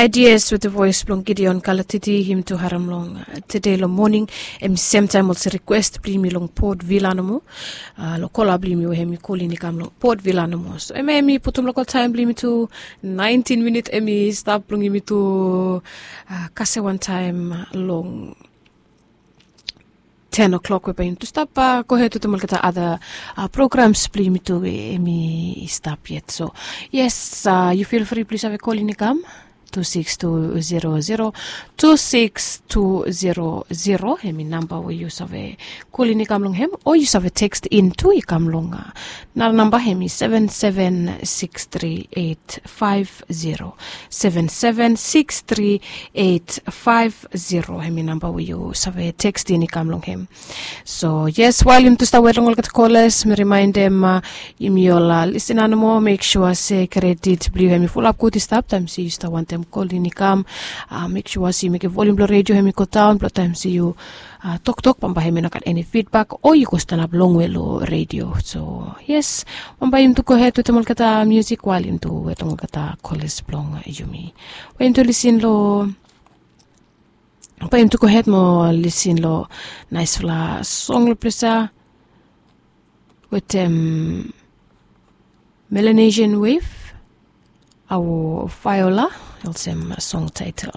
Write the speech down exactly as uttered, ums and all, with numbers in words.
Ideas with the voice blong Gideon Kalatiti, him tu harem long tede long moning. Em semtaem olsem request blong yumi long Port Vila nomo, long kola blong yumi we hemi kolin i kam long Port Vila nomo. So em hemi putum lokal taem blong yumi tu, naentin minit hemi stap blong yumi tu kasem wantaem long ten o'clock we bae yumi tu stap gohed wetem olgeta ada programs blong yumi tu we hemi stap yet. So yes, yu feel free blong yu save kolin i kam tu six tu zero zero, tu six tu zero zero, hemi namba we yu save kolin i kam long hem, o yu save tekstin tu i kam long nara namba, hemi seven seven six three eight five zero, seven seven six three eight five zero, hemi namba we yu save tekstin i kam long hem. So yes, wael yumi tu stap wet long olgeta kolas, mi rimaendem yumi ol lisina nomo, mek sua se kredit blong yu hemi fulap gud i stap taem se yu stap wantem kolin i kam. Mek sua se yu mekem volium blong redio hemi godaon blong taem se yu toktok bambae hemi no gat eni fidbak o yu go stanap longwe long redio. So yes, bambae yumi tu gohed wetem olgeta musik wael yumi tu wet long olgeta kolas blong yumi. Bae yumi tu lisin long bae yumi tu gohed mo lisin long naesfala song long ples ya wetem Melanesian Wave, Awo Viola, olsem song taetel.